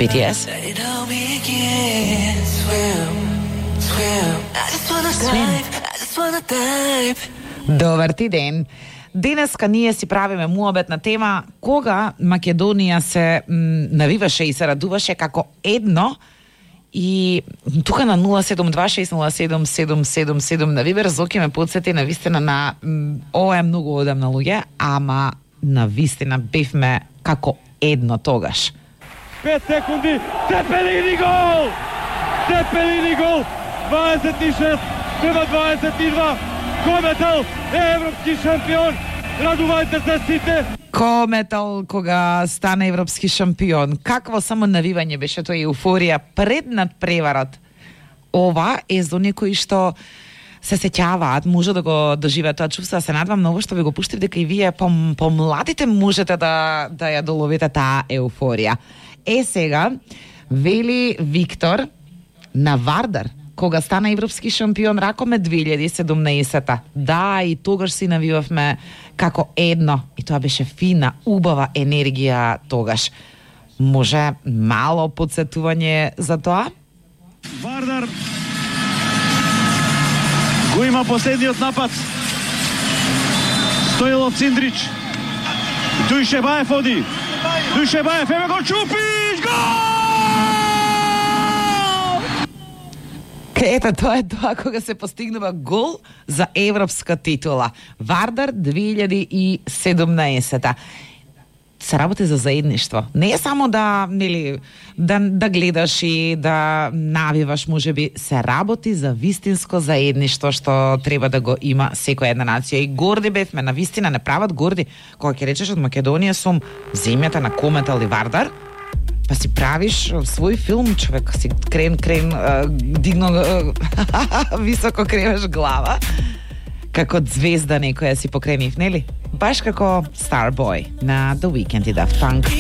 BTS. Добар ти ден. Денеска ние си правиме муабет на тема кога Македонија се навиваше и се радуваше како едно. И тука на 072607777 на Вибер Зоки ме подсети на вистина на ова е многу одамна луѓе, ама на вистина бевме како едно тогаш. 5 секунди, Цепелини гол! Цепелини гол! 26 према 22. Кометал е европски шампион. Радувајте се сите. Кометал кога стана европски шампион. Какво само навивање беше тоа, еуфорија пред надпреварот. Ова е за некои што се сеќаваат, може да го доживеат тоа чувство. Се надвам многу што ви го пуштив дека и вие помладите можете да ја доловите таа еуфорија. Сега вели Виктор на Вардар кога стана европски шампион ракоме 2017-та. Да, и тогаш си навивавме како едно. И тоа беше фина, убава енергија тогаш. Може мало подсетување за тоа? Вардар го има последниот напад. Стоилов Циндрич. Дујшебаев оди. Дујшебаев, еве го Чупич, гол! Ето, тоа е тоа кога се постигнува гол за европска титула. Вардар 2017-та. Се работи за заедништво. Не е само да гледаш и да навиваш, можеби се работи за вистинско заедништво што треба да го има секоја една нација. И горди бевме, на вистина не прават горди. Кога ќе речеш од Македонија сум земјата на Кометал и Вардар, па си правиш свој филм, човек, си крен, дигно високо кренеш глава, како звезда некоја си покренив, нели? Баш како Starboy на The Weeknd и Daft Punk.